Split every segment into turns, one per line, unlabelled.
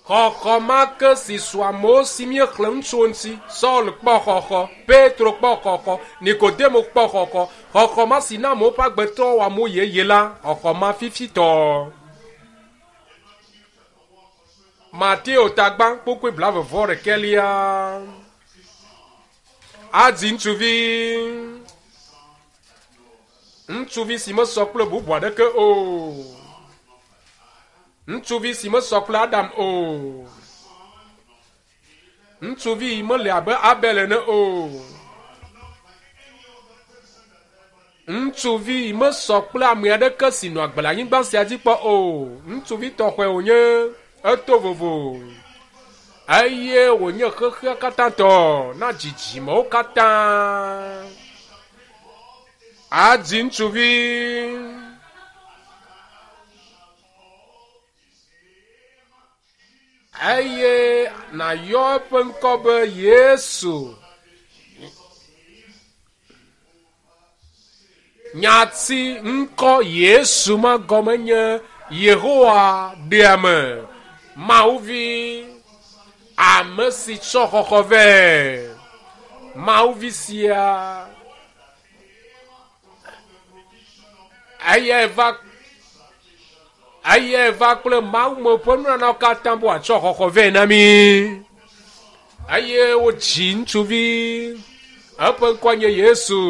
Xɔxɔ ma ke si su amewo si míexlẽ nu tso eŋuti. Saul kpɔ xɔxɔ, Petro kpɔ xɔxɔ, Nikodemo kpɔ xɔxɔ. Xɔxɔ ma si na amewo ƒe agbe trɔ wɔ amewo yeye la, xɔxɔ ma fifitɔ. Mateo tagba kpukpui blaeve-vɔ-ɖekɛlia. Adzi ŋutsuvi. Ŋutsuvi si mesɔ kple bubu aɖeke o. Ŋutsuvi si mesɔ kple Adam o. Ŋutsuvi mele abe Abel ene o. Ŋutsuvi mesɔ kple ame aɖeke si nɔ agbe le anyigba sia dzi kpɔ o. Ŋutsuvi tɔxɔe wònye, eto vovo eye wònye xexea katã tɔ na dzidzimewo katã. Adzi ŋutsuvi. Eye nàyɔ eƒe ŋkɔ be Yesu. Nyati ŋkɔ Yesu ma gɔme nye Yehowa ɖeame, Mawuvi, ame si tsɔ xɔxɔ vɛ. Mawuvi sia eyae va eyae va kple Mawu me ƒe nunanawo katã be wòatsɔ xɔxɔ vɛ na mí. Eye wodzi ŋutsuvi, eƒe ŋkɔ nye Yesu.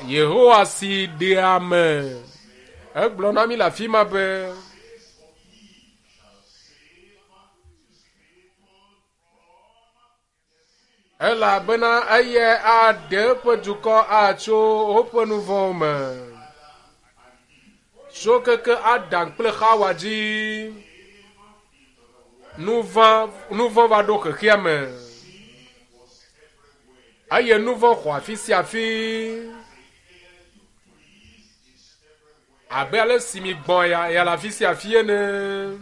Yehowa si ɖea ame. Egblɔ na mí le afi ma be, Elabena eyae aɖe eƒe dukɔ atso woƒe nu vɔ̃wo me. Tso keke Adam kple Xawa dzi, nu vɔ̃ va ɖo xexea me. Eye nu vɔ̃ xɔ afi sia afi. Abe ale si mi gbɔ̃ ya, ya le afi sia afi ene.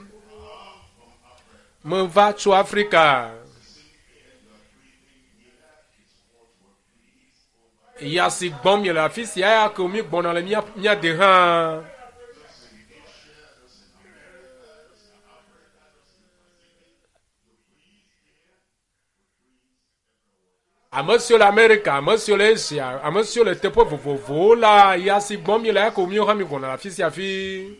Meva tso Afrika. Ya si gbɔm miele afi sia ya ke mi gbɔna le mía mía de hã. Ame siwo le Amerika, ame siwo le Asia, ame siwo le teƒe vovovowo la, ya si gbɔm míele ya ko míwo hã mígbɔna le afi sia afi.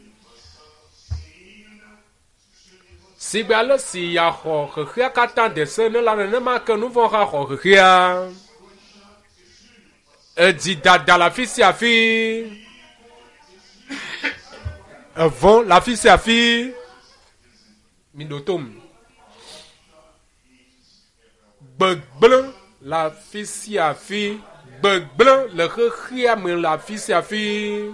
Sigbe ale si ya xɔ xexea katã de se ene la, nenema ke nu vɔ̃ hã xɔ xexea. Edzi dada le afi sia afi. Evɔ̃ le afi sia afi. Miɖo tom. Gbegblẽ le afi sia afi. Gbegblẽ le xexea me le afi sia afi.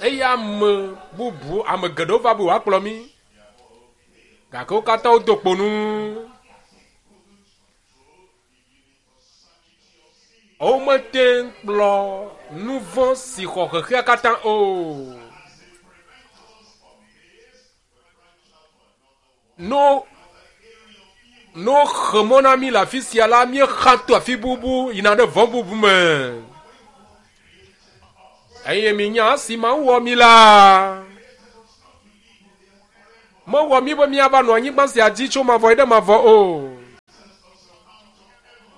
Eye ame bubu, ame geɖewo va be woakplɔ mí. Gake wo katã wodo kpo nu. Womete ŋu kplɔ nu vɔ̃ si xɔ xexea katã o. No no xe mɔ na mí le afi sia la, míexa to afi bubu yina ɖe vɔ̃ bubu me. Eye minya esi Mawu wɔ mí la, mewɔ mí be míava nɔ anyigba sia dzi tso mavɔ yi ɖe mavɔ o.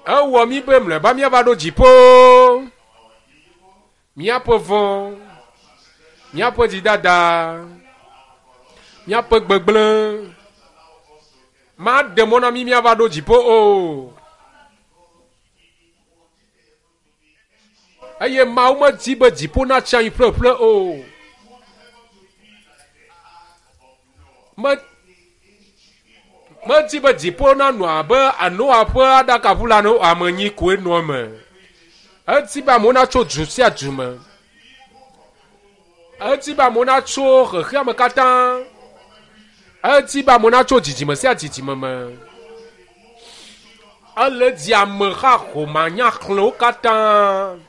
Ewɔ mí be mlɔeba míava ɖo dziƒo. Míaƒe vɔ̃, míaƒe dzidada, míaƒe gbegblẽ maɖe mɔ na mí míava ɖo dziƒo o. Eye Mawu medi be dziƒo natsi anyi ƒleƒle o. Me, medi be dziƒo nanɔ abe Noa ƒe aɖakaʋu la ene o, ame enyi koe nɔ eme. Edi be amewo natso du sia du me. Edi be amewo natso xexeame katã. Edi be amewo natso dzidzime sia dzidzime me. Ele di ameha homanyaxlẽwo katã.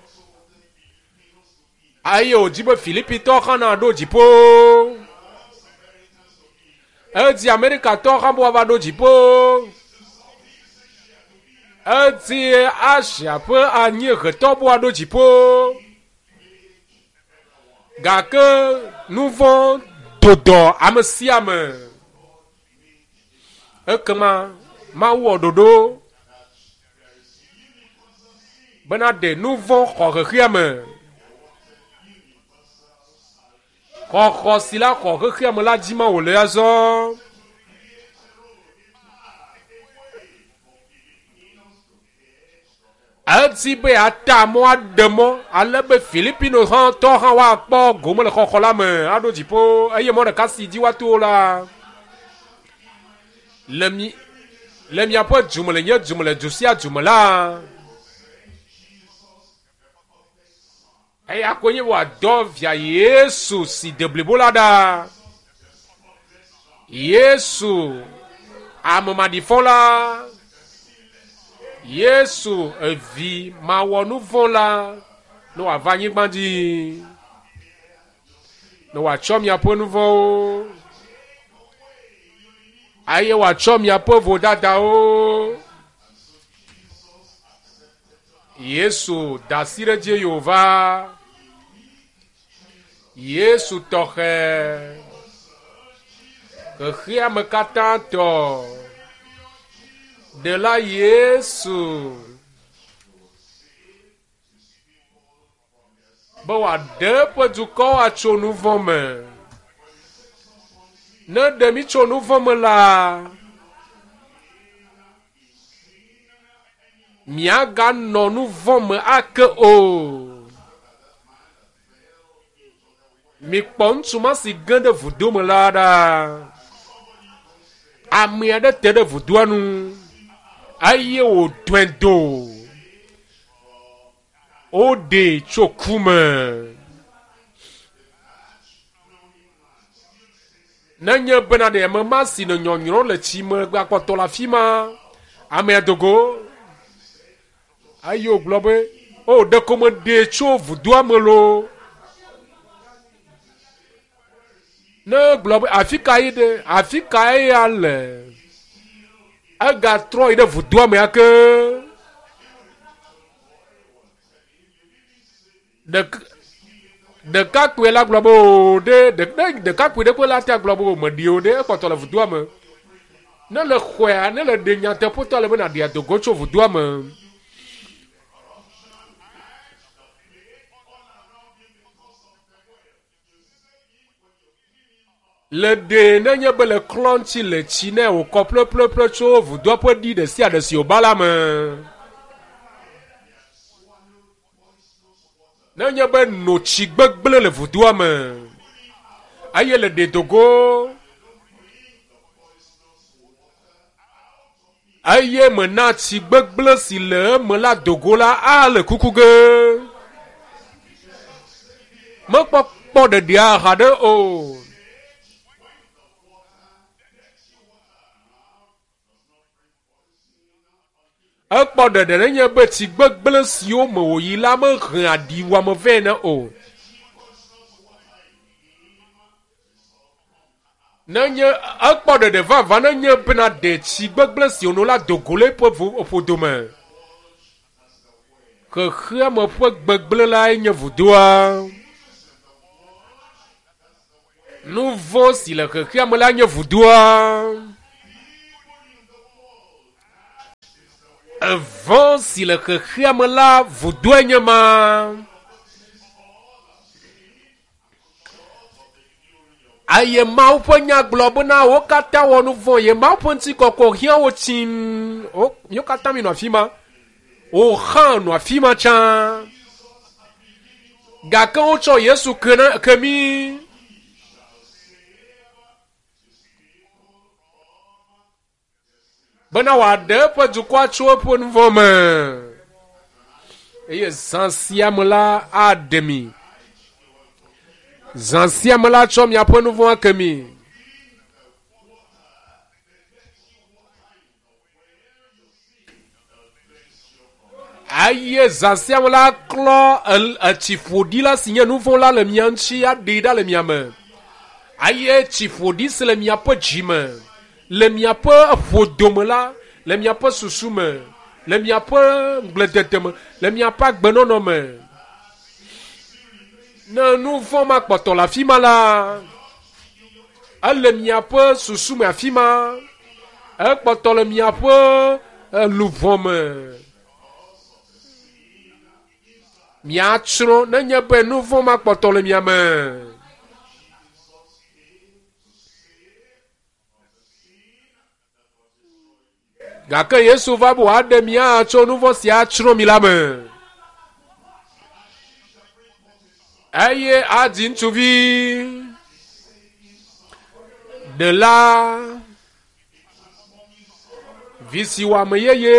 Eye wòdi be Filipitɔwo hã naɖo dziƒo. Edi Amerikatɔwo hã be woava ɖo dziƒo. Edi Asia ƒe anyiehetɔ be woaɖo dziƒo. Gake nu vɔ̃ do dɔ ame sia ame. Ekema Mawu wɔ ɖoɖo bena ɖe nu vɔ̃ xɔ xexea me. Xɔxɔ si la xɔ xexea me la dzi ma wòle azɔ. Edi be yeata mɔ aɖe mɔ ale be Filipino hã tɔ hã woakpɔ gome le xɔxɔ la me aɖo dziƒo eye mɔ ɖeka si dzi woato la le mi le miaƒe du me le nye du me le du sia du me la eya koe nye wòadɔ via Yesu si de blibo la ɖa. Yesu ame maɖifɔ la, Yesu evi mawɔ nu vɔ̃ la, ne wòava anyigba dzi, ne wòatsɔ miaƒe nu vɔ̃wo, eye wòatsɔ miaƒe vodadawo. Yesu da asi ɖe edzi eye wòva. Yesu tɔxɛ, xexeame katã tɔ, Ɖela Yesu, be wòaɖe eƒe dukɔwo atso nu vɔ̃ me. Ne ɖe mí tso nu vɔ̃ me la, miaganɔ nu vɔ̃ me ake o. Mikpɔ ŋutsu ma si ge ɖe vudo me la ɖa. Ame aɖe te ɖe vudoa nu eye wòdɔe do. Woɖee tso ku me. Nenye bena ɖe ame ma si nɔ nyɔnyrɔm le tsi me gakpɔtɔ le afi ma, amea do go eye wògblɔ be, O, ɖeko meɖee tso vudoa me loo. Ne egblɔ be, afi ka yi ɖe, afi ka eya le? Egatrɔ yi ɖe vudoa me ake. Ɖekakpui la gblɔ be o ɖe, ne ɖekakpui ɖe koe la te gblɔ be o meɖi o ɖe, ekpɔtɔ le vudoa me. Ne le xɔea, ne le ɖe nyateƒetɔ le be nàɖi adogo tso vudoa me. Le ɖee nenye be le klɔ ŋuti le tsi nɛ wòkɔ ƒleƒleƒle tso vudoa ƒe ɖi ɖe sia ɖe si wòba la me. Nenye be no tsi gbegblẽ le vudoa me eye le ɖe dogo eye mena tsi gbegblẽ si le eme la dogo la ale kuku ge. Mekpɔ kpɔ ɖeɖia haɖe o. Ekpɔ ɖeɖe nenye be tsi gbegblẽ siwo me wòyi la mehea ɖiwuame vɛ ne o. Nenye ekpɔ ɖeɖe vavã nenye bena ɖe tsi gbegblẽ si wòno la do go le eƒe ƒodo me. Xexeame ƒe gbegblẽ lae nye vudoa. Nu vɔ̃ si le xexeame la nye vudoa. Evɔ̃ si le xexeame la vudoe nye ma. Eye Mawu ƒe nya gblɔ bena wo katã wɔ nu vɔ̃ ye Mawu ƒe ŋutikɔkɔ hiã wo tsim. Wo míwo katã mi nɔ afi ma. Wo hã nɔ afi ma tsã. Gake wotsɔ Yesu ke na ke mí. Bena wòaɖe eƒe dukɔa tso eƒe nu vɔ̃ me. Eye zã sia me la aɖe mi. Zã sia me la tsɔ miaƒe nu vɔ̃ ake mi. Eye zã sia me la klɔ etsi ƒoɖi la si nye nu vɔ̃ la le mia ŋuti aɖee ɖa le mia me. Eye tsi ƒoɖi si le miaƒe dzi me, le miaƒe ƒodome la, le miaƒe susu me, le miaƒe ŋugbledede me, le miaƒe agbenɔnɔ me. Ne nu vɔ̃ ma kpɔtɔ le afi ma la, ele miaƒe susu me afi ma. Ekpɔtɔ le miaƒe luʋɔ me. Miatsrɔ̃ nenye be nu vɔ̃ ma kpɔtɔ le mia me. Gake Yesu va be wòaɖe mia tso nu vɔ̃ sia tsrɔ̃ mi la me. Eye adzi ŋutsuvi ɖela vi si wɔ ame yeye.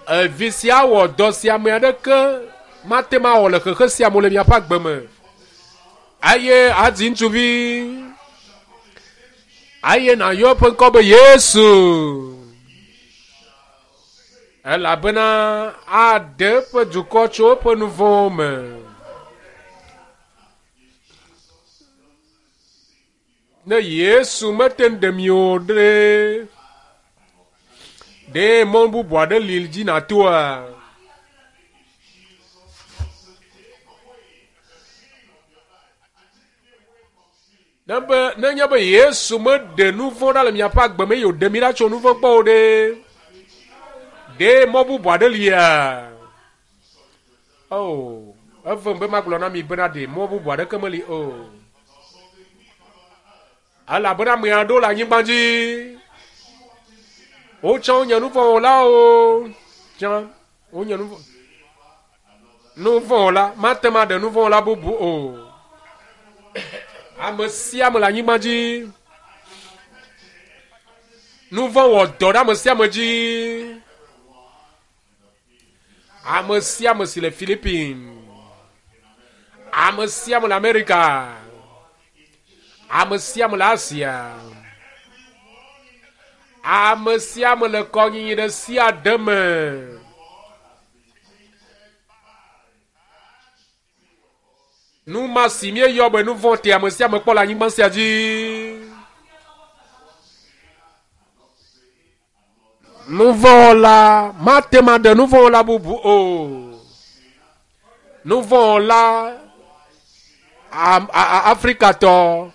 Evi sia wɔ dɔ si ame aɖeke mate ŋu awɔ le xexe sia me le miaƒe agbe me. Eye adzi ŋutsuvi eye nàyɔ eƒe ŋkɔ be Yesu. Elabena aɖe eƒe dukɔ tso eƒe nu vɔ̃wo me. Ne Yesu mete ŋu ɖe mi o ɖe, ɖe mɔ bubu aɖe li dzi nàtoa? Ne be nenye be Yesu meɖe nu vɔ̃ ɖa le miaƒe agbe me eye wòɖe mi ɖa tso nu vɔ̃ gbɔ o ɖe, ɖe mɔ bubu aɖe lia? Oh, evem be magblɔ na mi bena ɖe mɔ bubu aɖeke meli o. Elabena ame aɖewo le anyigba dzi. Wotsã wonye nu vɔ̃ wɔlawo. Tsã wonye nu vɔ̃. Nu vɔ̃ wɔla mate ŋu aɖe nu vɔ̃ wɔla bubu o. Ame sia ame le anyigba dzi. Nu vɔ̃ wɔ dɔ ɖe ame sia ame dzi. Ame sia ame si le Philippines, ame sia ame le Amerika, ame sia ame le Asia, ame sia ame le kɔnyinyi ɖe sia ɖe me. Nu ma si míeyɔ be nu vɔ̃ te ame sia ame kpɔ le anyigba sia dzi. Nuvɔ̃wɔla mate ŋu aɖe nuvɔ̃wɔla bubu o. Nuvɔ̃wɔla Afrikatɔ,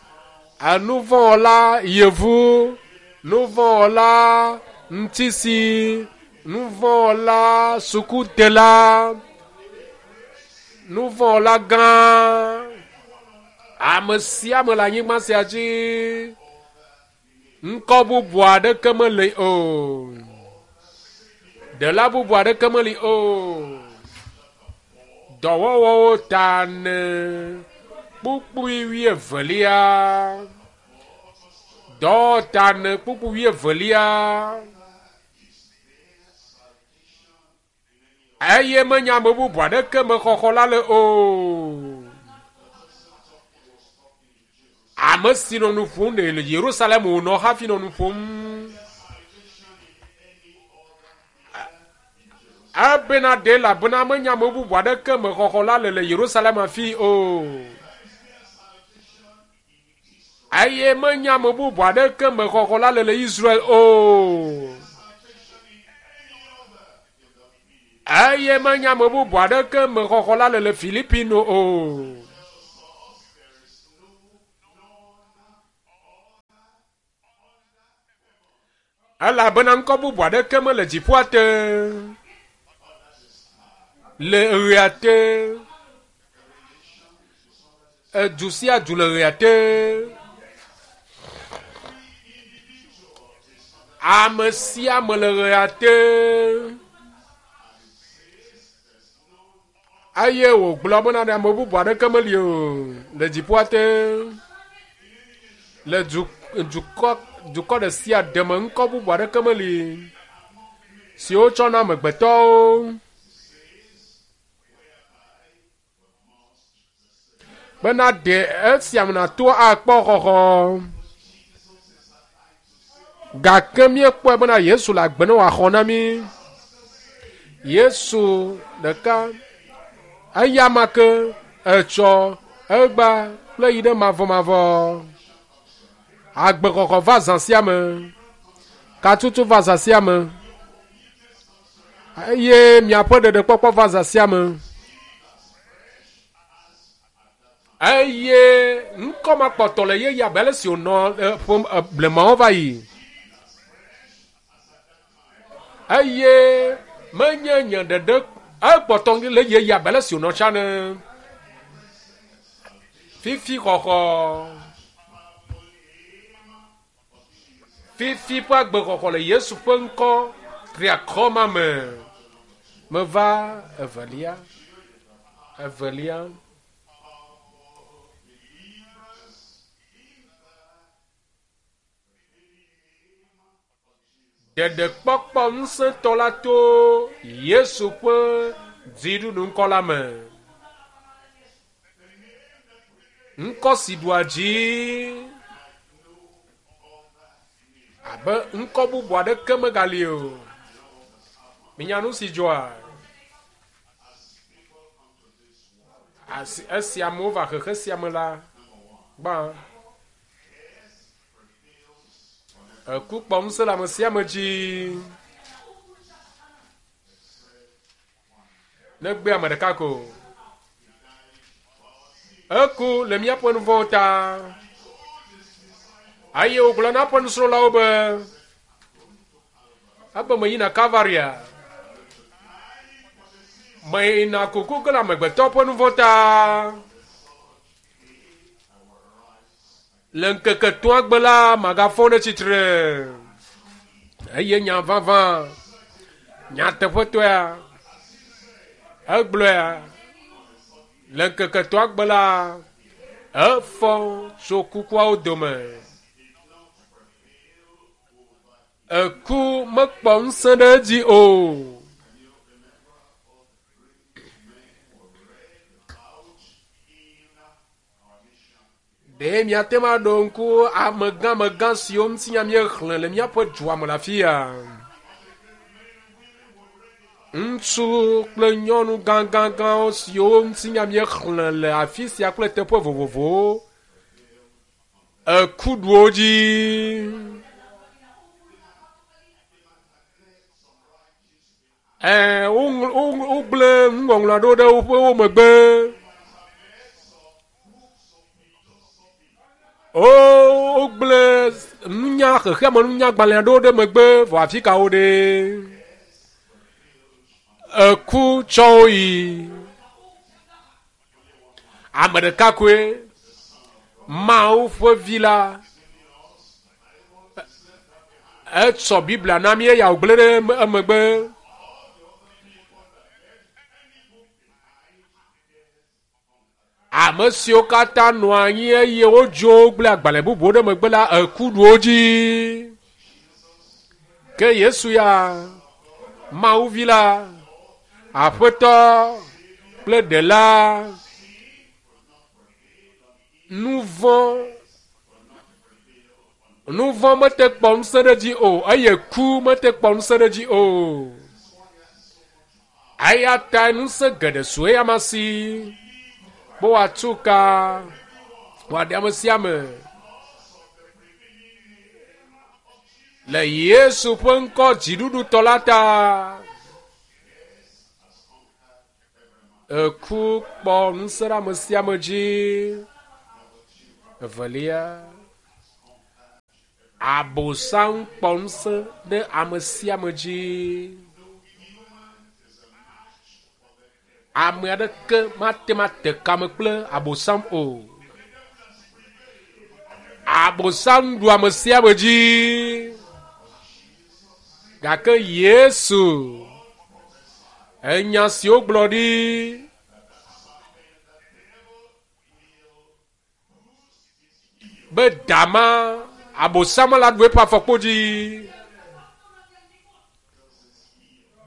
nuvɔ̃wɔla yevu, nuvɔ̃wɔla ŋutisi, nuvɔ̃wɔla sukudela, nuvɔ̃wɔla gã, ame sia ame le anyigba sia dzi. Ŋkɔ bubu aɖeke meli o. Ɖela bubu aɖeke meli o. Dɔwɔwɔwo ta ne kpukpui wuievelia. Dɔwɔta ne kpukpui wuievelia. Eye menye ame bubu aɖeke me xɔxɔ la le o. Ame si nɔ nu ƒom ɖe le Yerusalem wònɔ hafi nɔ nu ƒom. Ebena ɖe elabena menye ame bubu aɖeke me xɔxɔ la le le Yerusalem hafi o. Eye menye ame bubu aɖeke me xɔxɔ la le le Israel o. Eye menye ame bubu aɖeke me xɔxɔ la le le Filipino o. Elabena ŋkɔ bubu aɖeke mele dziƒoa te, le ɣea te, edu sia du le ɣea te. Ame sia ame le ɣea te. Eye wògblɔ bena ɖe ame bubu aɖeke meli o le dziƒoa te. Le du, dukɔ, dukɔ ɖe sia ɖe me ŋkɔ bubu aɖeke meli si wotsɔ na amegbetɔwo bena ɖe esia me nàto akpɔ xɔxɔ. Gake míekpɔe bena Yesu le agbe ne wòaxɔ na mí. Yesu ɖeka, eya ma ke etsɔ, egba kple yi ɖe mavɔmavɔ. Agbexɔxɔ va zã sia me. Katutu va zã sia me. Eye miaƒe ɖeɖekpɔkpɔ va zã sia me. Eye ŋkɔ ma kpɔtɔ le yeye abe ale si wònɔ ƒe blemawo va yi. Eye menye nye ɖeɖe ekpɔtɔ le yeye abe ale si wònɔ tsã ene. Fifi xɔxɔ. Fifi ƒe agbexɔxɔ le Yesu ƒe ŋkɔ triakɔ ma me. Meva evelia. Evelia. Ɖeɖekpɔkpɔ ŋusẽtɔ la to Yesu ƒe dziɖuɖuŋkɔ la me. Ŋkɔ si ɖua dzi abe ŋkɔ bubu aɖeke megali o. Minya nu si dzɔa? Asi esi amewo va xexe sia me la, gbã eku kpɔ ŋusẽ le ame sia ame dzi. Negbe ame ɖeka ko. Eku le míaƒe nu vɔ̃wo ta. Eye wògblɔ na eƒe nusrɔ̃lawo be, ebe meyina Kalvaria. Meyina kuku ge le amegbetɔ ƒe nu vɔ̃ ta. Le ŋkeke etɔ̃a gbe la, magafɔ ɖe tsitre. Eye nya vavã, nyateƒetɔea, egblɔea, le ŋkeke etɔ̃a gbe la, efɔ tso kukuawo dome. Eku mekpɔ ŋusẽ ɖe edzi o. Ɖe miate ŋu aɖo ŋku amegãmegã siwo ŋutinya míexlẽ le míaƒe dua me le afia? Ŋutsu kple nyɔnu gãgãgãwo siwo ŋutinya míexlẽ le afi sia kple teƒe vovovowo eku ɖu wo dzi. Ɛɛ, wogblẽ nuŋɔŋlɔ aɖewo ɖe woƒe wo megbe. Wogblẽ nunya xexeame nunyagbalẽ aɖewo ɖe megbe vɔ afi ka wo ɖe? Eku tsɔ wo yi. Ame ɖeka koe Mawu ƒe vi la etsɔ Biblia na mí eya wògblẽ ɖe emegbe. Ame siwo katã nɔ anyi eye wodzo gblẽ agbalẽ bubuwo ɖe megbe la, eku ɖu wo dzi. Ke Yesu ya, Mawu vi la, Aƒetɔ kple Ɖela, nu vɔ̃ mete kpɔ ŋusẽ ɖe edzi o eye ku mete kpɔ ŋusẽ ɖe edzi o. Eya tae ŋusẽ geɖe su eyama si be wòatu ka wòaɖe ame sia ame. Le Yesu ƒe ŋkɔ dziɖuɖutɔ la ta. Eku kpɔ ŋusẽ ɖe ame sia ame dzi. Evelia, Abosam kpɔ ŋusẽ ɖe ame sia ame dzi. Ame aɖeke mate ŋu ate kame kple Abosam o. Abosam ɖu ame sia ame dzi. Gake Yesu, enya si wogblɔ ɖi be dama Abosam la ɖu eƒe afɔkpo dzi.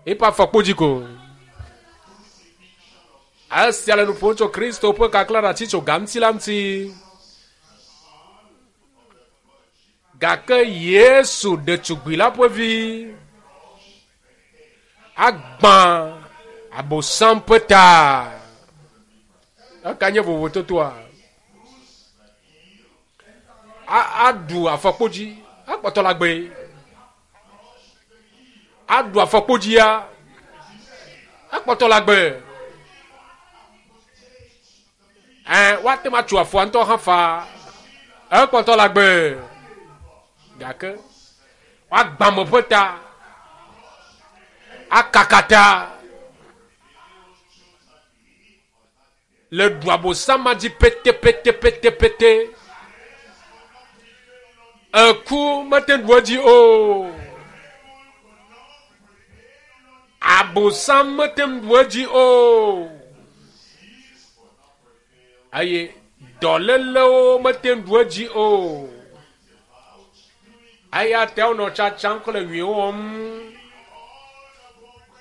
Eƒe afɔkpo dzi ko. Esia le nu ƒom tso Kristo ƒe kaklãɖatsi tso ga ŋuti la ŋuti. Gake Yesu ɖetugbui la ƒe vi agbã Abosam ƒe ta. Eka nye vovototoa? Aɖu afɔkpodzi, akpɔtɔ le agbe. Aɖu afɔkpodzia. Ekpɔtɔ le agbe. Ɛ, woate ŋu atso afɔa ŋutɔ hã faa. Ekpɔtɔ le agbe. Gake woagbã ame ƒe ta, akaka ta le ɖu abosam ma dzi petepetepetepete. Eku mete ŋu ɖu edzi o. Abosam mete ŋu ɖu edzi o. Eye dɔlélewo mete ŋu ɖu edzi o. Eya ta wonɔ tsatsam kple nyui wɔm.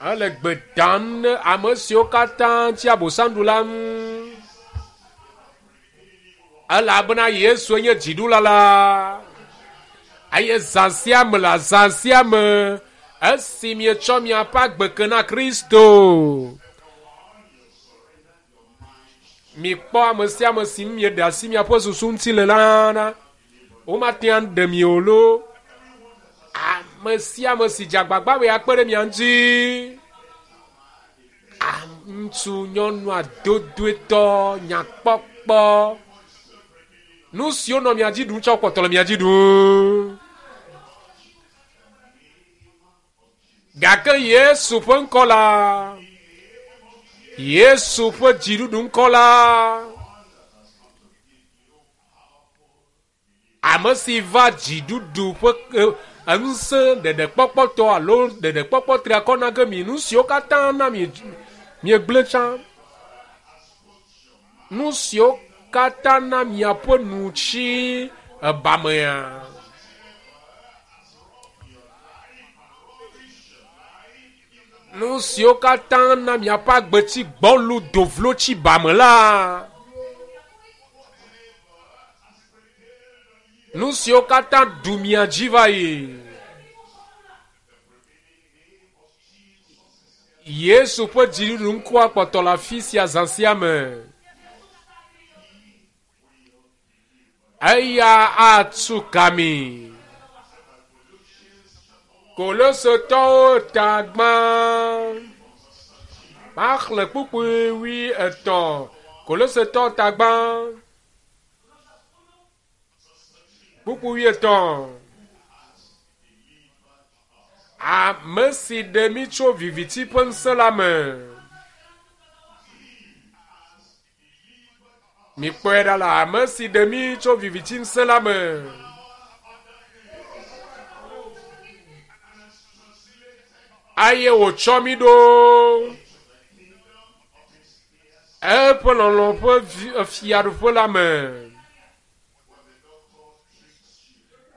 Ele gbe dam ne ame siwo katã tsi abosam ɖu la ŋu. Elabena Yesue nye dziɖula la. Eye zã sia me le azã sia me, esi mietsɔ miaƒe agbe ke na Kristo, mikpɔ ame sia ame si ŋu mieɖe asi miaƒe susu ŋuti le la ɖa. Womate ŋu aɖe mi o loo. Ame sia ame si dze agbagba be yeakpe ɖe mia ŋuti, ŋutsu, nyɔnu, adodoetɔ, nyakpɔkpɔ, nu siwo nɔ mia dzi ɖum tsɔ kpɔtɔ le mia dzi ɖum. Gake Yesu ƒe ŋkɔ la, Yesu ƒe dziɖuɖu ŋkɔ la, Ame si va dziɖuɖu ƒe ŋusẽ ɖeɖekpɔkpɔtɔ alo ɖeɖekpɔkpɔ triakɔ na ge mi nu siwo katã na mi miegblẽ tsã. Nu siwo katã na miaƒe nu tsi ebamea. Nu siwo katã na miaƒe agbe tsi gbɔlu dovlo tsi bame la. Nu siwo katã ɖu mia dzi va yi. Yesu ƒe dziɖuɖu ŋkɔa kpɔtɔ le afi sia zã sia me. Eya atu ka mi. Kolosotɔwo ta gbã. Maxlẽ kpukpui wui etɔ̃. Kolosetɔwo ta gbã. Kpukpui wuietɔ̃. Ame si ɖe mí tso viviti ƒe ŋusẽ la me. Mikpɔe ɖa la, ame si ɖe mí tso viviti ŋusẽ la me. Eye wòtsɔ mí ɖo eƒe lɔlɔ̃ ƒe fiaɖuƒe la me.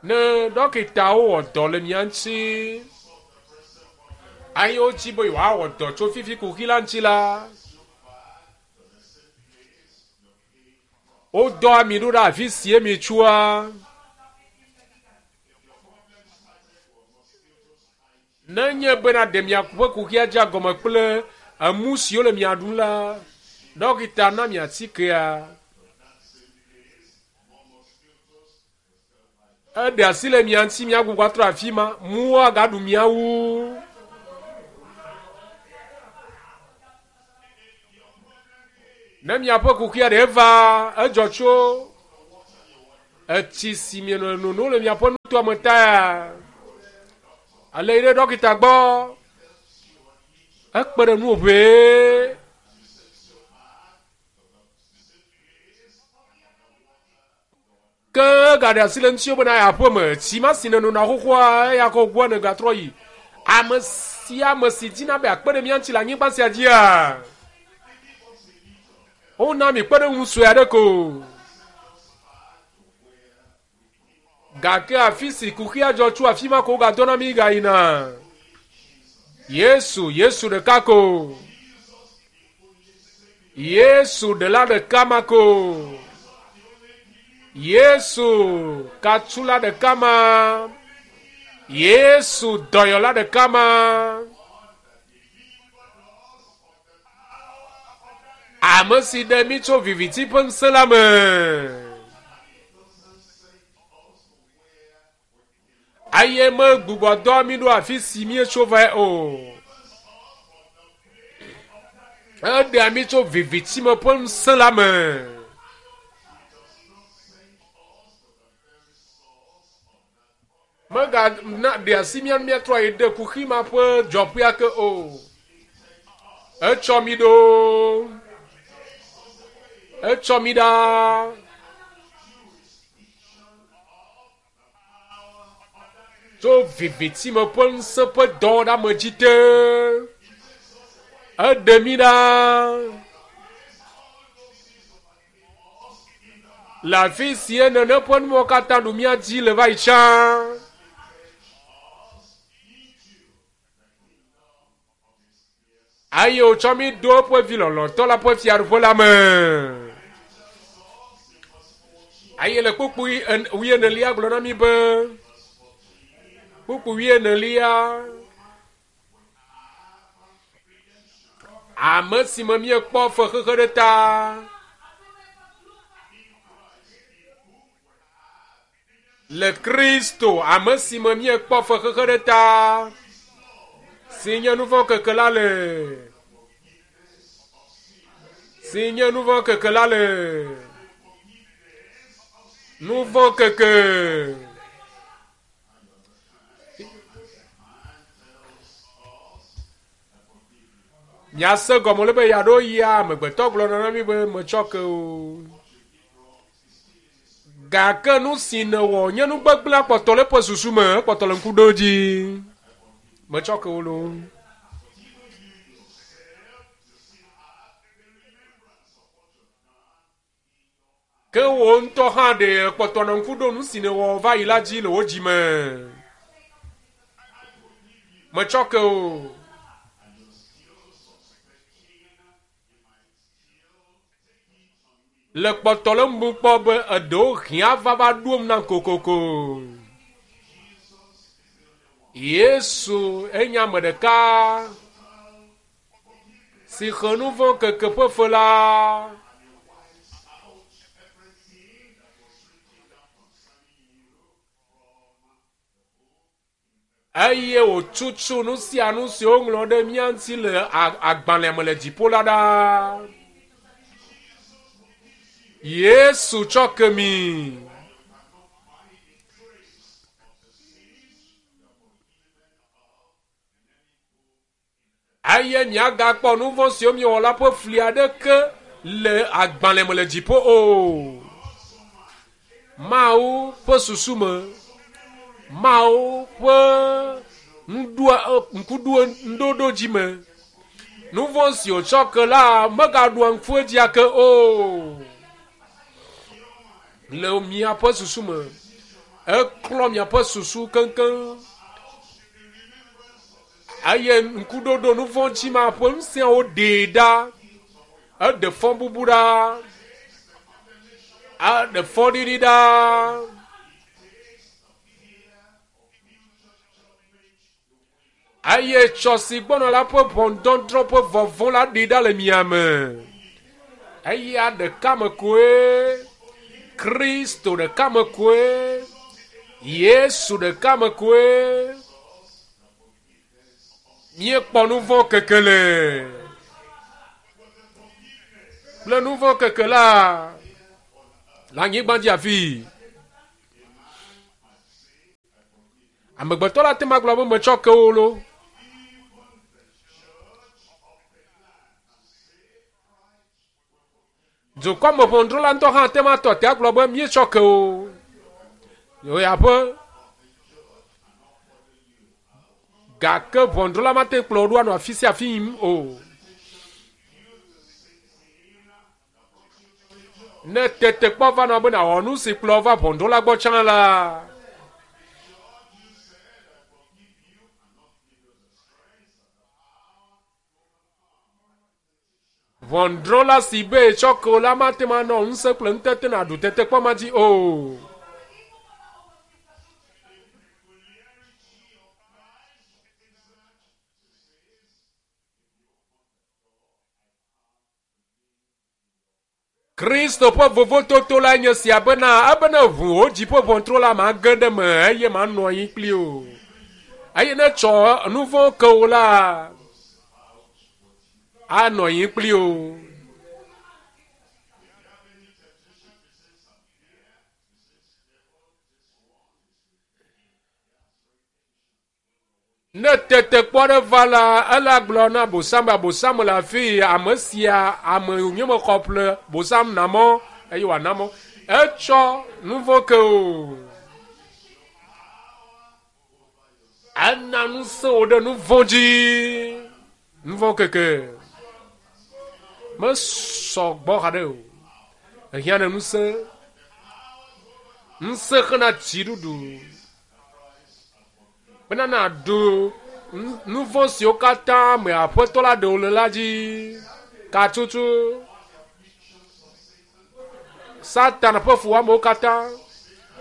Ne ɖɔkitawo wɔ dɔ le mia ŋuti eye wodi be yewoawɔ dɔ tso fifi kuxi la ŋuti la, wodɔa mi ɖo ɖe afi si mi tsoa. Nenye bena ɖe miaƒe kuxia dze agɔme kple emu siwo le mia ɖum la, ɖɔkita na mi atikea. Eɖe asi le mia ŋuti miagbugbɔ atrɔ afi ma, muwo agaɖu mia wu. Ne miaƒe kuxia ɖe va, edzɔ tso etsi si mienɔ nono le miaƒe nutoa me taea, ale yi ɖe ɖɔkita gbɔ, ekpe ɖe nuwò ʋee. Ke egaɖe asi le ŋutiwò bena yeaƒe me tsi ma si nènona xoxoa, eya kɔ gbɔa nègatrɔ yi. Ame sia ame si dina be yeakpe ɖe mía ŋuti le anyigba sia dzia, wona mi kpeɖeŋu sue aɖe ko. Gake afi si kuxia dzɔ tso afi ma ko wogadɔna mí gayina. Yesu, Yesu ɖeka ko. Yesu ɖela ɖeka ma ko. Yesu katsula ɖeka ma. Yesu dɔyɔla ɖeka ma. Ame si ɖe mí tso viviti ƒe ŋusẽ la me. Eye megbugbɔ dɔ mí ɖo afi si míetso vae o. Eɖea mí tso vivitime ƒe ŋusẽ la me. Megana ɖe asi mía nu míatrɔ ayi ɖe kuxi ma ƒe dzɔƒea ke o. Etsɔ mí ɖo. Etsɔ mí ɖa. Tso vivitime ƒe ŋusẽ ƒe dɔwɔɖeamedzi te. Eɖe mí ɖa. Le afi si nene ƒe nuwo katã ɖu mía dzi le va yi tsã. Eye wòtsɔ mí ɖo eƒe vi lɔlɔ̃tɔ la ƒe fiaɖuƒe la me. Eye le kpukpui wuienelia gblɔ na mí be, kpukpui wuienelia, ame si me míekpɔ fexexe ɖe ta. Le Kristo, ame si me míekpɔ fexexe ɖe ta, si nye nuvɔ̃ keke la le. Si nye nuvɔ̃ keke la le. Nuvɔ̃ keke. Miase gɔme le be yeaɖo yia amegbetɔ gblɔna na mi be metsɔ ke o. Gake nu si nèwɔ nye nu gbegblẽ kpɔtɔ le eƒe susu me, ekpɔtɔ le ŋku ɖom dzi. Metsɔ ke wo loo. Ke wò ŋutɔ hã ɖe kpɔtɔ nɔ ŋku ɖo nu si nèwɔ va yi la dzi le wò dzi me. Metsɔ ke o. Le kpɔtɔ le ŋu kpɔ be eɖewo hiã va va ɖom nam kokoko. Yesu enye ame ɖeka si xe nu vɔ̃ keke ƒe fe la. Eye wòtutu nu sia nu si woŋlɔ ɖe mía ŋuti le agbalẽ me le dziƒo la ɖa. Yesu tsɔ ke mi. Eye miagakpɔ nu vɔ̃ siwo miewɔ la ƒe fli aɖeke le agbalẽ me le dziƒo o. Mawu ƒe susu me, Mawu ƒe ŋuɖoa, ŋkuɖo, ŋuɖoɖo dzi me, nu vɔ̃ si wòtsɔ ke la megaɖoa ŋku edzi ake o. Le miaƒe susu me, eklɔ miaƒe susu keŋkeŋ. Eye ŋkuɖoɖo nu vɔ̃ dzi ma ƒe ŋusẽawo ɖee ɖa. Eɖe fɔbubu ɖa. Eɖe fɔɖiɖi ɖa. Eye tsɔ si gbɔna la ƒe ʋɔnudɔdrɔ̃ ƒe vɔvɔ̃ la ɖi ɖa le mia me. Eya ɖeka me koe Kristo ɖeka me koe Yesu ɖeka me koe Míekpɔ nu vɔ̃ keke le kple nu vɔ̃ keke la le anyigba dzi afi. Amegbetɔ la te ma gblɔ be metsɔ ke wo lo. Dukɔmeʋɔnudrɔ̃la ŋutɔ hã ate ŋu atɔ te agblɔ be míetsɔ ke o. Yehowa Gake ʋɔnudrɔ̃la mate ŋu kplɔ wo ɖo anɔ afi sia afi yim o. Ne tetekpɔ va nɔ be nàwɔ nu si kplɔ va ʋɔnudrɔ̃la gbɔ tsã la, Ʋɔnudrɔ̃la si be yetsɔ ke wò la mate ŋu anɔ ŋusẽ kple ŋutete nàɖu tetekpɔ ma dzi o. Kristo ƒe vovototo lae nye sia bena ebe ne ʋu wò dzi ƒe ʋɔtru la mage ɖe eme eye manɔ anyi kpli o. Eye ne tsɔ nu vɔ̃ ke wò la, Anɔ anyi kpli wo. Ne tetekpɔ aɖe va la, ele agblɔ na Bosam be Abosam le afi yi, ame sia ame wònye mexɔ ƒle Bosam na mɔ eye wòana mɔ. Etsɔ nu vɔ̃ ke o. Ena ŋusẽ wò ɖe nu vɔ̃ dzi. Nu vɔ̃ keke mesɔ gbɔ haɖe o. Ehiã ne ŋusẽ. Ŋusẽ xena dziɖuɖu. Bena nàɖu nu vɔ̃ siwo katã me Aƒetɔ la ɖe wò le la dzi. Katutu. Satana ƒe fuwɔamewo katã,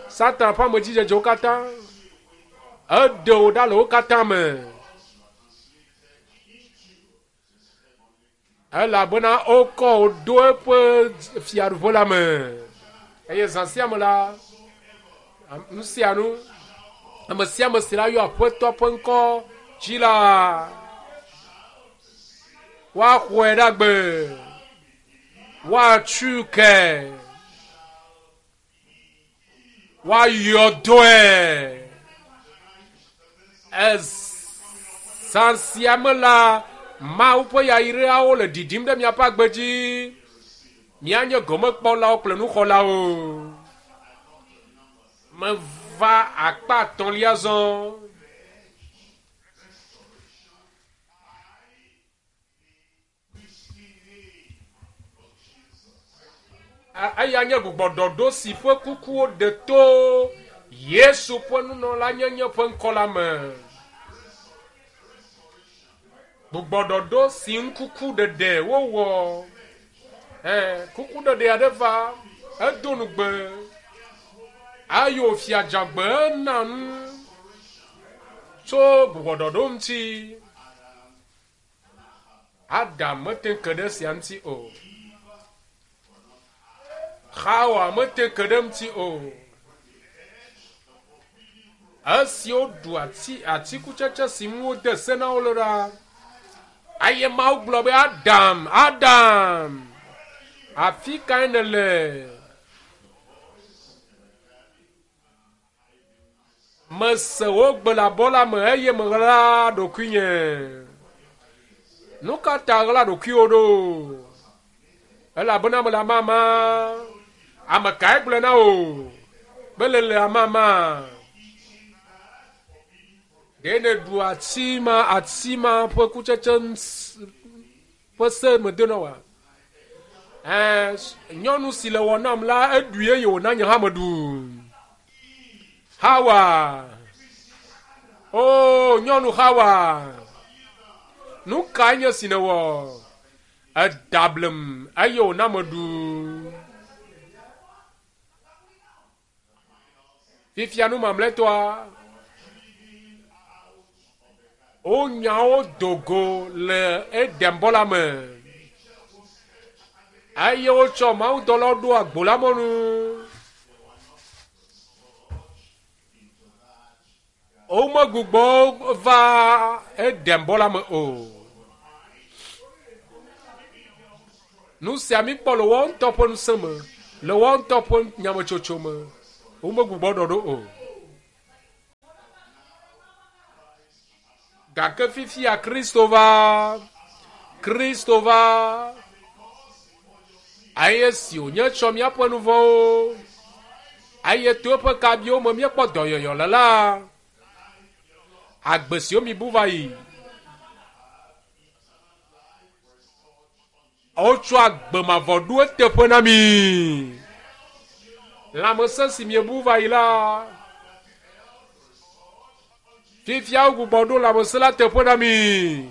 Satana ƒe amedzidzedzewo katã, eɖe wò ɖa le wo katã me. Elabena wokɔ wò ɖo eƒe fiaɖuƒe la me. Eye zã sia me la, nu sia nu, ame sia ame si la yɔ Aƒetɔ ƒe ŋkɔ dzi la, woaxɔe ɖe agbe, woatui ke, Woayɔ dɔe. Ezã sia me la, Mawu ƒe yayrawo le ɖiɖim ɖe miaƒe agbe dzi. Mianye gomekpɔlawo kple nuxɔlawo. Meva akpa etɔ̃lia zɔ. Eya nye gbugbɔɖɔɖo si ƒe kukuwo ɖe to Yesu ƒe nunɔlanyenye ƒe ŋkɔ la me. Gbugbɔɖɔɖo si ŋu kukuɖeɖe wowɔ. Ɛ, kukuɖeɖe aɖe va, edo nugbe, eye wòfia dzagbe ena nu tso gbugbɔɖɔɖo ŋuti. Adam mete ŋu ke ɖe esia ŋuti o. Xawa mete ŋu ke ɖe eŋuti o. Esi woɖu ati atikutsetse si ŋu wode se na wo le ɖa, eye Mawu gblɔ be, Adam, Adam, afi kae nèle? Mese wò gbe le abɔ la me eye meɣla ɖokuinye. Nu ka ta ɣla ɖokuiwò ɖo? Elabena mele amama. Ame kae gblɔe na wò be lele amama? Ɖe nèɖu ati ma ati ma ƒe kutsetse ƒe se mede na wòa? Ɛɛ, nyɔnu si le wɔ nam la, eɖui eye wòna nye hã meɖu. Hawa. O, nyɔnu Hawa. Nu kae nye si nèwɔ? Eda blem eye wòna meɖu. Fifia nu mamlɛtɔa, wonya wo do go le Eden-bɔ la me eye wotsɔ mawudɔlawo ɖo agbo la mɔnu. Womegbugbɔ va Eden-bɔ la me o. Nu sia míkpɔ le woawo ŋutɔ ƒe ŋusẽ me, le woawo ŋutɔ ƒe nyametsotso me. Womegbugbɔ ɖɔ ɖo o. Gake fifia Kristo va. Kristo va. Eye si wònye tsɔ míaƒe nu vɔ̃wo, eye to eƒe kabiwo me míekpɔ dɔyɔyɔ le la, agbe siwo mibu va yi. Wotsɔ agbe mavɔ ɖo eteƒe na mi. Lãmesẽ si miebu va yi la, fifia wogbugbɔ ɖo lãmesẽ la teƒe na mi.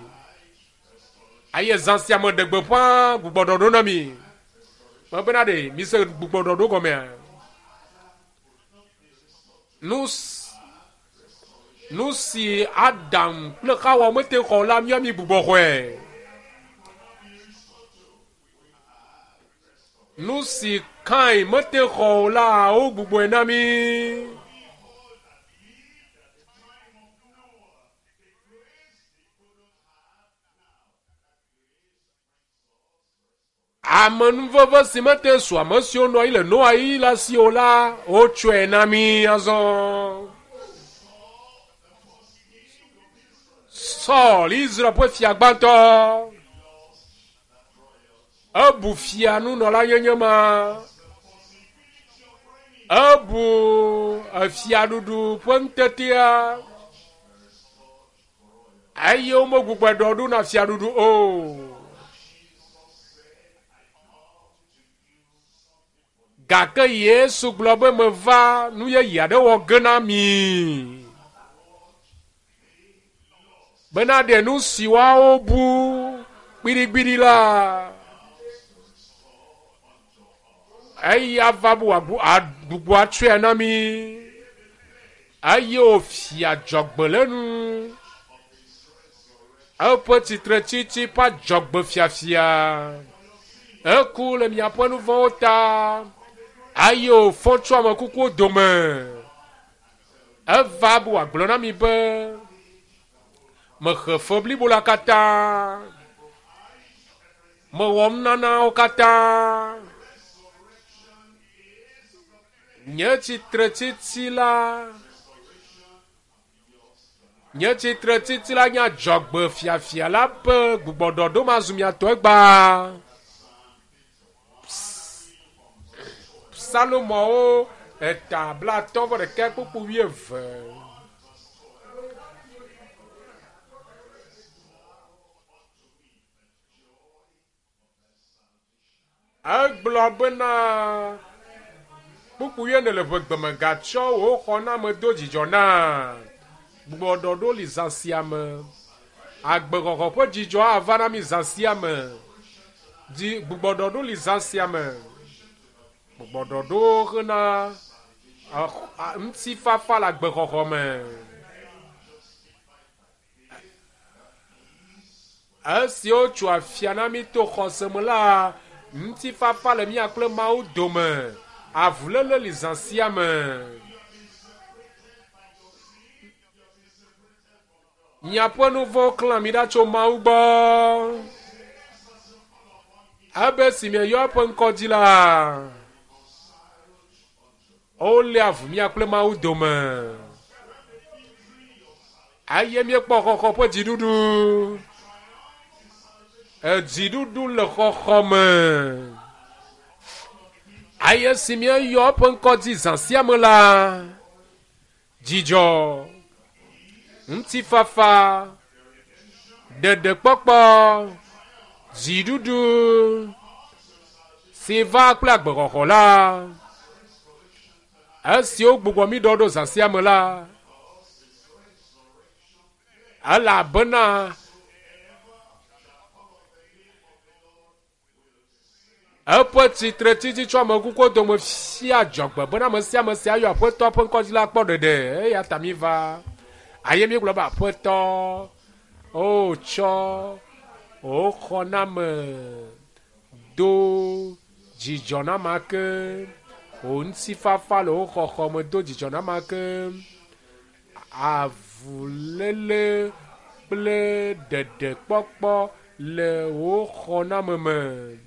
Eye zã sia me ɖe gbeƒã gbugbɔɖɔɖo na mi. Mebena ɖe mise gbugbɔɖɔɖo gɔmea? Nu nu si Adam kple Xawa mete xɔ la, mía mi gbugbɔ xɔe. Nu si Kain mete xɔ o la, wogbugbɔe na mí. Amenuveve si mete su ame siwo nɔ anyi le Noa ɣeyiɣi la si o la, wotsɔe na mí azɔ. Saul, Israel ƒe fia gbãtɔ, ebu fia nunɔlanyenye ma. Ebu efiaɖuɖu ƒe ŋutetea eye womegbugbɔe ɖɔ ɖo na fiaɖuɖu o. Gake Yesu gblɔ be meva nu yeye aɖe wɔ ge na mi. Bena ɖe nu si woawo bu gbiɖigbiɖi la, eya va bu agbugbɔ atsɔe na mi. Eye wòfia dzɔgbe le nu. Eƒe tsitretsitsi ƒe adzɔgbe fiafia. Eku le miaƒe nu vɔ̃wo ta eye wòfɔ tso ame kukuwo dome. Eva be wòagblɔ na mi be, Mexe fe blibo la katã. Mewɔ nunanawo katã. Nye tsitretsitsi la, nye tsitretsitsi la nye adzɔgbe fiafia la ƒe gbugbɔɖɔɖo mazu mia tɔ egbea. Psalumɔwo eta 61 kpukpu 20. Egblɔ bena, Kpukpu wuiene le ʋegbe me gatsɔ wò xɔname do dzidzɔ na. Gbugbɔɖɔɖo li zã sia me. Agbexɔxɔ ƒe dzidzɔ ava na mí zã sia me. Dzi gbugbɔɖɔɖo li zã sia me. Gbugbɔɖɔɖo hena ŋutifafa le agbexɔxɔ me. Esi wotso afia na mí to xɔse me la, ŋutifafa le mía kple Mawu dome. Avuléle li zã sia me. Miaƒe nu vɔ̃wo klã mi ɖa tso Mawu gbɔ. Ebe si mieyɔ eƒe ŋkɔ dzi la, Wolé avu mía kple Mawu dome. Eye míekpɔ xɔxɔ ƒe dziɖuɖu. Edziɖuɖu le xɔxɔ me. Eye si míeyɔ eƒe ŋkɔ dzi zã sia me la, dzidzɔ, ŋutifafa, ɖeɖekpɔkpɔ, dziɖuɖu si va kple agbexɔxɔ la, esi wogbugbɔ mí ɖɔ ɖo zã sia me la, elabena Eƒe tsitretsitsi tso ame kukuwo dome fia dzɔgbe bena ame sia ame si ayɔ Aƒetɔ ƒe ŋkɔ dzi la akpɔ ɖeɖe. Eya ta míva eye míegblɔ be, Aƒetɔ, o tsɔ wò xɔname do dzidzɔ na ame ake, wò ŋutifafa le wò xɔxɔ me do dzidzɔ na ame ake, Avuléle kple ɖeɖekpɔkpɔ le wò xɔname me.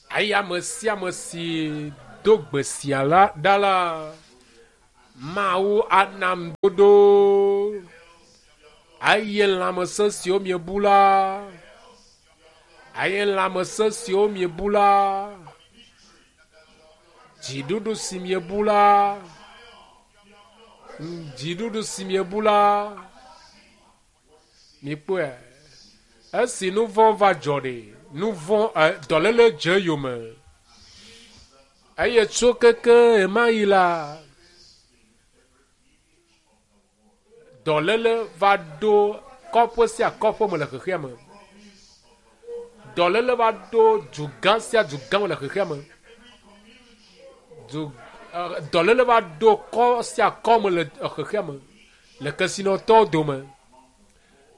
Eye ame sia ame si do gbe sia la ɖa la, Mawu ana ŋuɖoɖo. Eye lãmesẽ siwo miebu la, eye lãmesẽ siwo miebu la, dziɖuɖu si miebu la, Dziɖuɖu si miebu la, mikpɔe. Esi nu vɔ̃ va dzɔ ɖe, nu vɔ̃ dɔléle dze eyome. Eye tso keke ɣemaɣi la, dɔléle va ɖo kɔƒe sia kɔƒe me le xexea me. Dɔléle va ɖo dugã sia dugã me le xexea me. Du dɔléle va ɖo kɔ sia kɔ me le xexea me, le kesinɔtɔwo dome,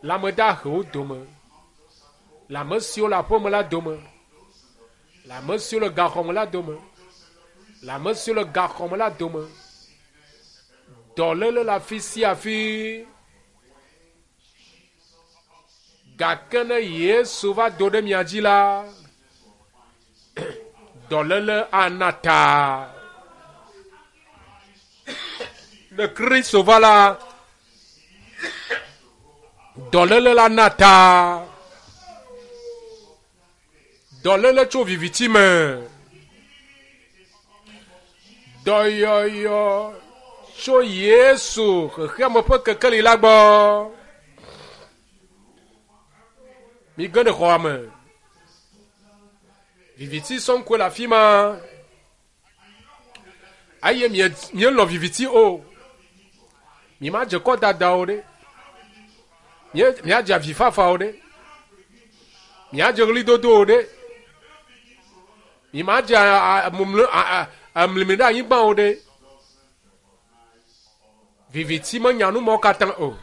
le ame dahewo dome, le ame siwo le aƒeme la dome, le ame siwo le gaxɔme la dome, le ame siwo le gaxɔme la dome. Dɔléle le afi sia afi. Gake ne Yesu va do ɖe mia dzi la, Dɔléle ana ta. Ne Kristo va la, dɔléle la na ta. Dɔléle tso viviti me. Dɔyɔyɔ tso Yesu xexeame ƒe kekeli la gbɔ. Mige ɖe xɔa me. Viviti sɔŋ koe le afi ma. Eye mielɔ̃ viviti o. Mimadze kɔdada o ɖe. Miadze avifafa o ɖe. Miadze ɣlidodo o ɖe. Mimadze amlimi ɖe anyigba o ɖe. Viviti menya nu mawo katã o.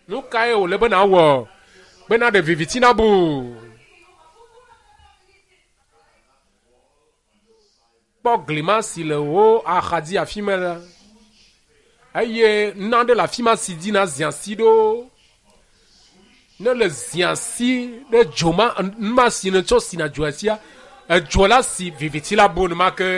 Nu kae wòle be nàwɔ be naɖe viviti nabu? Kpɔ gli ma si le wò axadzi afi ma la, eye nane le afi ma si dzi nàzi asi ɖo. Ne le zi asi ɖe dzo ma, nu ma si nètsɔ sina dzoa sia, edzo la si viviti la bu enumake.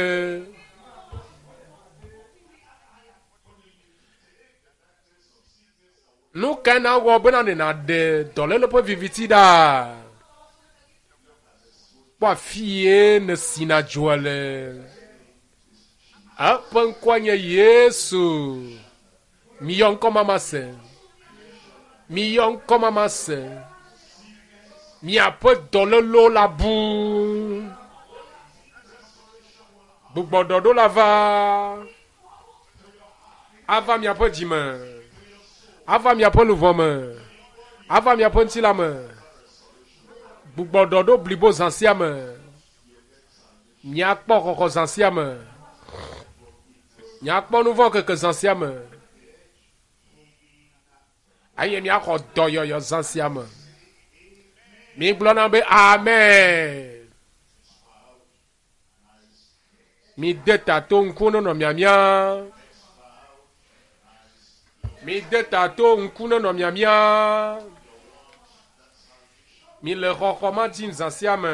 Nu kae nàwɔ bena ne nàɖe dɔléle ƒe viviti ɖa? Kpɔ afie nèsina dzoa le. Eƒe ŋkɔe nye Yesu. Miyɔ ŋkɔ ma mase. Miyɔ ŋkɔ ma mase. Miaƒe dɔlélewo la bu. Gbugbɔɖɔɖo la va. Ava miaƒe dzi me, ava miaƒe luʋɔ me, ava miaƒe ŋutilã me. Gbugbɔ ɖɔɖo blibo zã sia me. Miakpɔ xɔxɔ zã sia me. Miakpɔ nu vɔ̃ keke zã sia me. Eye miaxɔ dɔyɔyɔ zã sia me. Migblɔna be amen. Mide ta to ŋku nenɔ miamia. Mide ta to ŋku nenɔ miamia. Mile xɔxɔ ma dim zã sia me.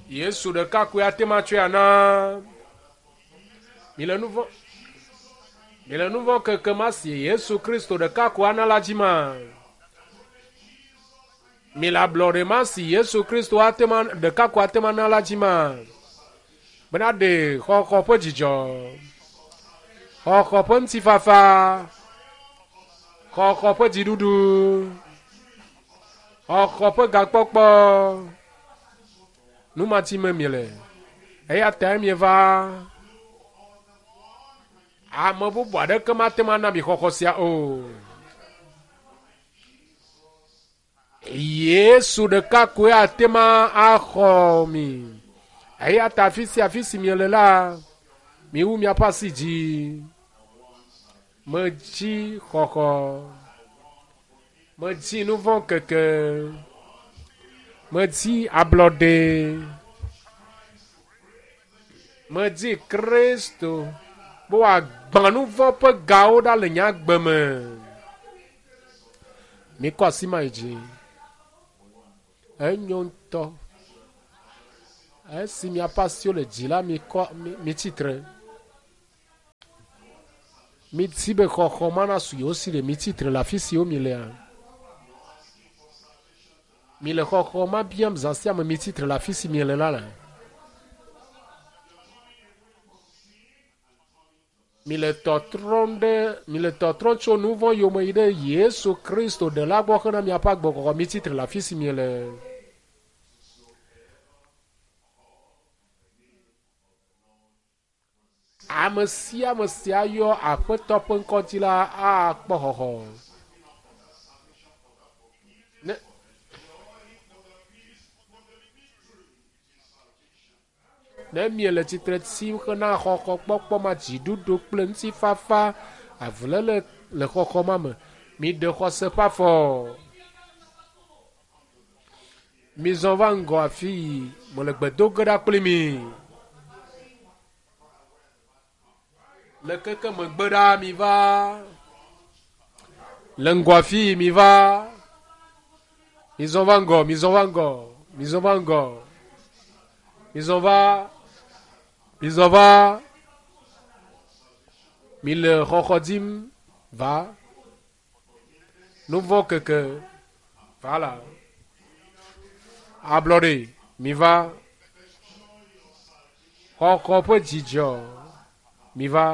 Yesu ɖeka koe ate ŋu atsɔe ana. Mile nu vɔ̃ Mile nu vɔ̃ keke ma si Yesu Kristo ɖeka ko ana la dzi ma. Mile ablɔɖe ma si Yesu Kristo ate ŋu ɖeka ko ate ŋu ana la dzi ma. Bena ɖe xɔxɔ ƒe dzidzɔ, xɔxɔ ƒe ŋutifafa, xɔxɔ ƒe dziɖuɖu, xɔxɔ ƒe gakpɔkpɔ, nu ma dzi me miele. Eya tae mieva. Ame bubu aɖeke mate ŋu ana mi xɔxɔ sia o. Yesu ɖeka koe ate ŋu axɔ mi. Eya ta afi sia afi si miele la, miwu miaƒe asi dzi. Medzi xɔxɔ. Medzi nu vɔ̃ keke. Medzi ablɔɖe. Medi Kristo be wòagbã nu vɔ̃ ƒe gawo ɖa le nye agbe me. Mikɔ asi ma yi dzi. Enyo ŋutɔ. Esi miaƒe asiwo le dzi la, mikɔ mitsi tre. Midi be xɔxɔ ma nasu yewo si ɖe mitsi tre le afi siwo milea. Mile xɔxɔ ma biam zã sia me mitsi tre le afi si miele la le. Mile tɔtrɔm ɖe mile tɔtrɔm tso nu vɔ̃ yome yi ɖe Yesu Kristo ɖela gbɔ hena miaƒe agbexɔxɔ mitsi tre le afi si miele. Ame sia ame si ayɔ Aƒetɔ ƒe ŋkɔ dzi la akpɔ xɔxɔ. Ne Ne miele tsitre tsim hena xɔxɔ kpɔkpɔ ma dziɖuɖu kple ŋutifafa avuléle le xɔxɔ ma me, miɖe xɔse ƒe afɔ. Mizɔ va ŋgɔ afii, mele gbe do ge ɖa kpli mi. Le keke megbe ɖa mi va. Le ŋgɔ afii mi va. Mizɔ va ŋgɔ, mizɔ va ŋgɔ. Mizɔ va ŋgɔ. Mizɔ va. Mizɔ va. Mile xɔxɔ dim va. Nu vɔ̃ keke va la. Ablɔɖe mi va. Xɔxɔ ƒe dzidzɔ mi va.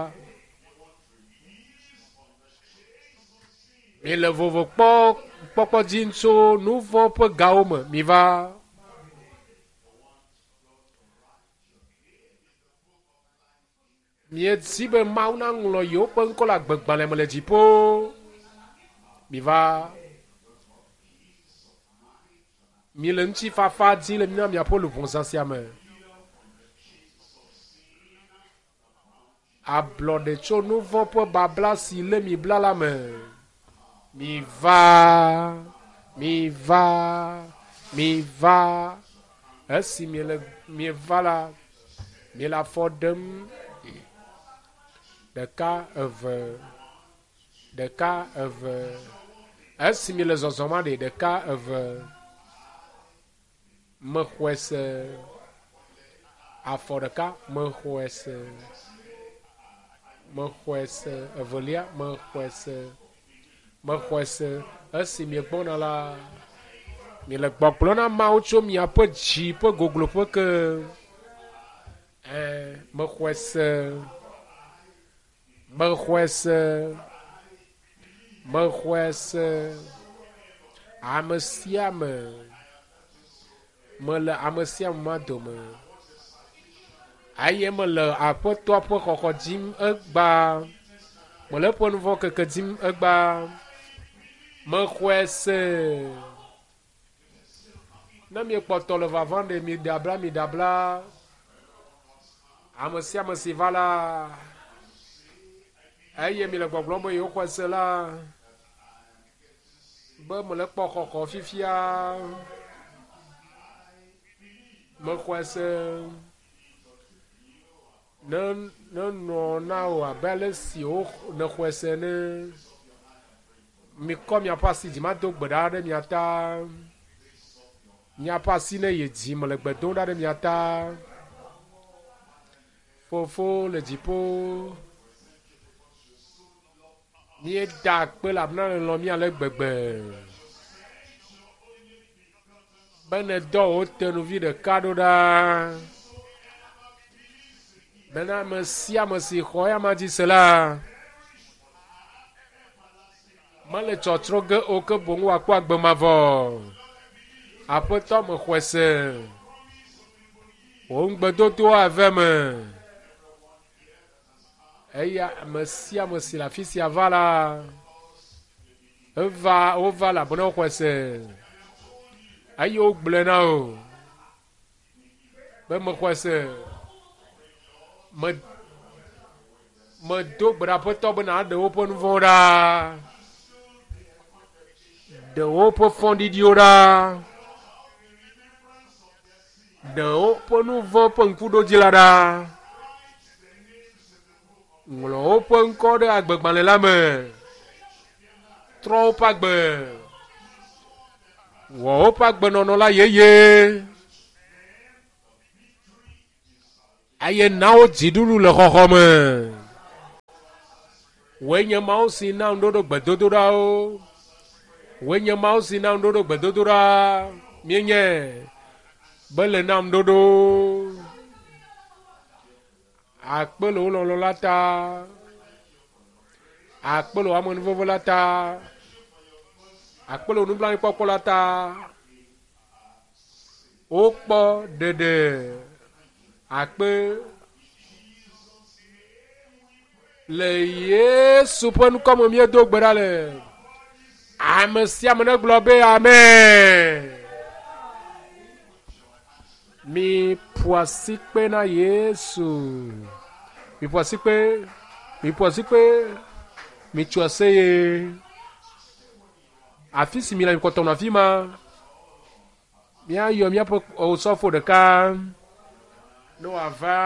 Mile vovo kpɔ kpɔkpɔ dim tso nu vɔ̃ ƒe gawo me mi va. Miedi be Mawu naŋlɔ yewoƒe ŋkɔ le agbegbalẽ me le dziƒo. Mi va. Mile ŋutifafa dim le mía miaƒe luʋɔ zã sia me. Ablɔɖe tso nu vɔ̃ ƒe babla si lé mi bla la me. Mi va, mi va, mi va. Esi miele mieva la, miele afɔ ɖem ɖeka eve, ɖeka eve. Esi miele zɔzɔm aɖe ɖeka eve. Mexɔe se. Afɔ ɖeka mexɔe se. Mexɔe se. Evelia mexɔe se. Mexɔe se. Esi miegbɔna la, miele gbɔgblɔ na Mawu tso miaƒe dzi ƒe gogloƒe ke. Ẽ, mexɔe se. Mexɔe se. Mexɔe se. Ame sia ame. Mele ame sia ame ma dome. Eye mele Aƒetɔa ƒe xɔxɔ dim egbea. Mele eƒe nu vɔ̃ keke dim egbea. Mexɔe se. Ne miekpɔtɔ le vavam ɖe, miɖe abla, miɖe abla. Ame sia ame si va la, eye miele gbɔgblɔm be yewoxɔe se la, be mele kpɔ xɔxɔ fifia. Mexɔe se. Ne nenɔ na wò abe ale si wo nèxɔe se ene. Mikɔ miaƒe asi dzi mado gbe ɖa ɖe mia ta. Miaƒe asi ne yi dzi mele gbe dom ɖa ɖe mia ta. Fofo le dziƒo. Míeda akpe elabena nèlɔ̃ mí ale gbegbe. Be nèdɔ wò tenuvi ɖeka ɖo ɖa. Bena ame sia ame si xɔ eya dzi se la, mele tsɔtsrɔ̃ ge o ke boŋ wòakpɔ agbe mavɔ. Aƒetɔ mexɔe se. Wò ŋugbedodoa eve me. Eya ame sia ame si le afi sia va la, eva wova elabena woxɔe se. Eye wogblɔe na wò be mexɔe se. Me medo gbe ɖe Aƒetɔ be nàɖe woƒe nu vɔ̃wo ɖa. Ɖe woƒe fɔɖiɖiwo ɖa. Ɖe woƒe nu vɔ̃ ƒe ŋkuɖodzi la ɖa. Ŋlɔ woƒe ŋkɔ ɖe agbegbalẽ la me. Trɔ woƒe agbe. Wɔ woƒe agbenɔnɔ la yeye. Eye na wo dziɖuɖu le xɔxɔ me. Wòe nye Mawu si na ŋuɖoɖo gbedodoɖawo. Wòe nye Mawu si na ŋuɖoɖo gbedodoɖa. Míenye be le na ŋuɖoɖo. Akpe le wò lɔlɔ̃ la ta. Akpe le wò amenuveve la ta. Akpe le wò nublanuikpɔkpɔ la ta. Wokpɔ ɖeɖe akpe le Yesu ƒe ŋkɔ me míedo gbe ɖa le. Ame sia ame negblɔ be amen. Mi ƒo asikpe na Yesu. Mi ƒo asikpe, mi ƒo asikpe, mi tso aseye. Afi si mi le mi kpɔtɔ nɔ afi ma. Míayɔ míaƒe osɔfo ɖeka ne wòava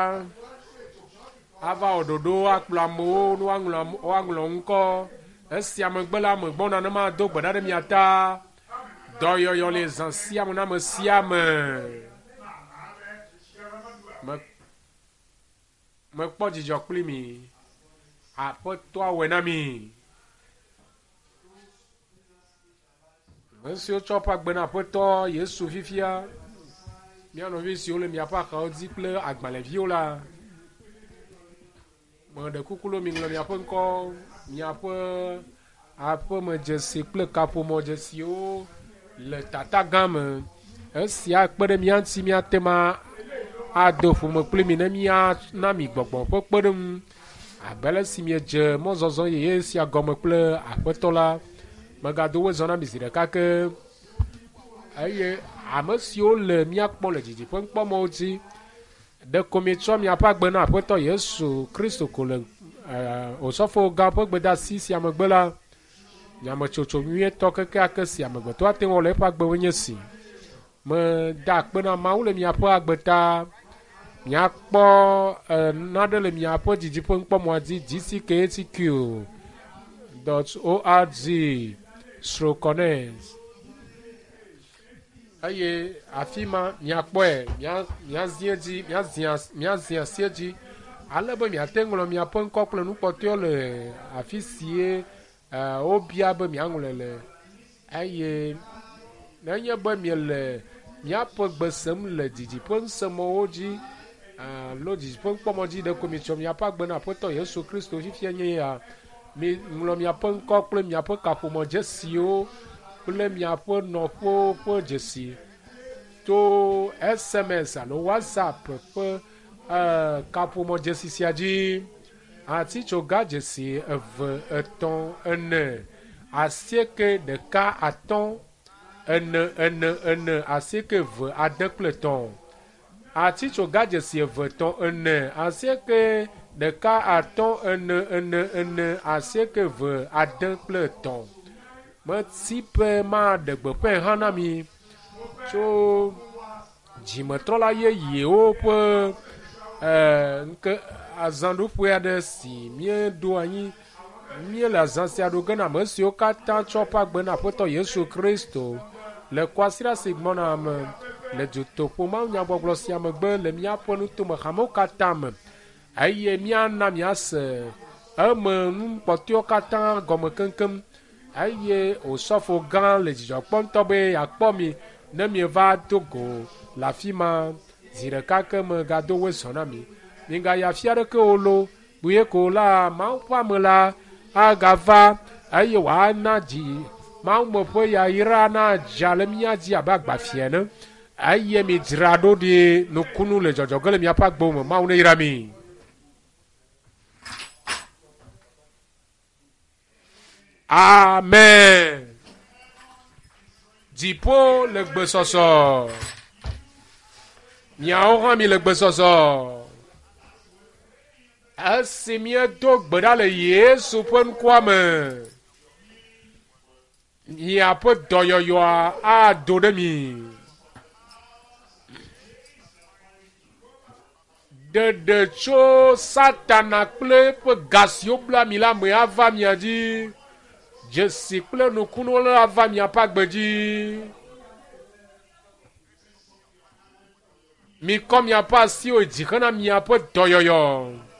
ava wɔ ɖoɖo akplɔ amewo ne woaŋlɔ woaŋlɔ ŋkɔ. Esia megbe la, megbɔna ne mado gbe ɖa ɖe mia ta. Dɔyɔyɔ le zã sia me na ame sia ame. Me mekpɔ dzidzɔ kpli mi. Aƒetɔa wɔe na mi. Ame siwo tsɔ woƒe agbe na Aƒetɔ Yesu fifia, mía nɔvi siwo le miaƒe axawo dzi kple agbalẽviwo la, meɖe kuku ɖo miŋlɔ miaƒe ŋkɔ, miaƒe aƒemedzesi kple kaƒomɔdzesiwo le tata gã me. Esia akpe ɖe mía ŋuti míate ŋu ado ƒome kpli mi ne míana mi gbɔgbɔ ƒe kpeɖeŋu abe ale si miedze mɔzɔzɔ yeye sia gɔme kple Aƒetɔ la. Megado wo zɔ na mi zi ɖeka ke eye ame siwo le mía kpɔm le didiƒe ŋkpɔmɔwo dzi ɖeko mietsɔ miaƒe agbe na Aƒetɔ Yesu Kristo ko le Osɔfo gã ƒe gbedeasi sia megbe la, nyametsotso nyuietɔ kekeake si amegbetɔ ate ŋu awɔ le eƒe agbe me nye si. Meda akpe na Mawu le miaƒe agbe ta. Miakpɔ nane le miaƒe didiƒe ŋkpɔmɔa dzi dckhtq dot org stroke connect eye afi ma miakpɔe miazi edzi miazi asi edzi ale be miate ŋlɔ miaƒe ŋkɔ kple nukpɔtɔewo le afi sie wobia be miaŋlɔe le eye nenye be miele miaƒe gbe sem le didiƒe ŋusẽmɔwo dzi alo didiƒe ŋkpɔmɔ dzi ɖeko mietsɔ miaƒe agbe na Aƒetɔ Yesu Kristo fifia nye ya miŋlɔ miaƒe ŋkɔ kple miaƒe kaƒomɔ dzesiwo kple miaƒe nɔƒewo ƒe dzesi to SMS alo WhatsApp ƒe kaƒomɔ dzesi sia dzi. Atitsoga dzesi eve, etɔ̃, ene, asieke, ɖeka, atɔ̃, ene, ene, ene, asieke, eve, ade kple etɔ̃. Atitsoga dzesi eve, etɔ̃, ene, asieke, ɖeka, atɔ̃, ene, ene, ene, asieke, eve, ade kple etɔ̃. Meti be maɖe gbeƒãe hã na mi tso dzimetrɔla yeyewo ƒe ŋke azãɖuƒe aɖe si míeɖo anyi. Míele azã sia ɖo ge na ame siwo katã tsɔ woƒe agbe na Aƒetɔ Yesu Kristo le kwasiɖa si gbɔna me le dutoƒo mawunyagbɔgblɔ sia megbe le míaƒe nutome hamewo katã me eye míana miase eme nu kpɔtɔewo katã gɔme keŋkeŋ eye osɔfo gã le dzidzɔ kpɔm ŋutɔ be yeakpɔ mi ne mieva do go le afi ma zi ɖeka ke megado woe zɔ na mi. Migayi afi aɖeke o lo, kpuie ko la Mawu ƒe ame la agava eye wòana dzi Mawu me ƒe yayra nadza le mía dzi abe agbafia ene eye midzra ɖo ɖi nukunu le dzɔdzɔ ge le miaƒe agbewo me. Mawu neyra mi. Amen. Dziƒo le gbesɔsɔ. Miawo hã mi le gbesɔsɔ. Esi míedo gbe ɖa le Yesu ƒe ŋkɔa me, miaƒe dɔyɔyɔa ado ɖe mi. Ɖeɖe tso Satana kple eƒe ga siwo bla mi la me ava mia dzi. Dzesi kple nukunuwo ava miaƒe agbe dzi. Mikɔ miaƒe asiwo dzi hena miaƒe dɔyɔyɔ.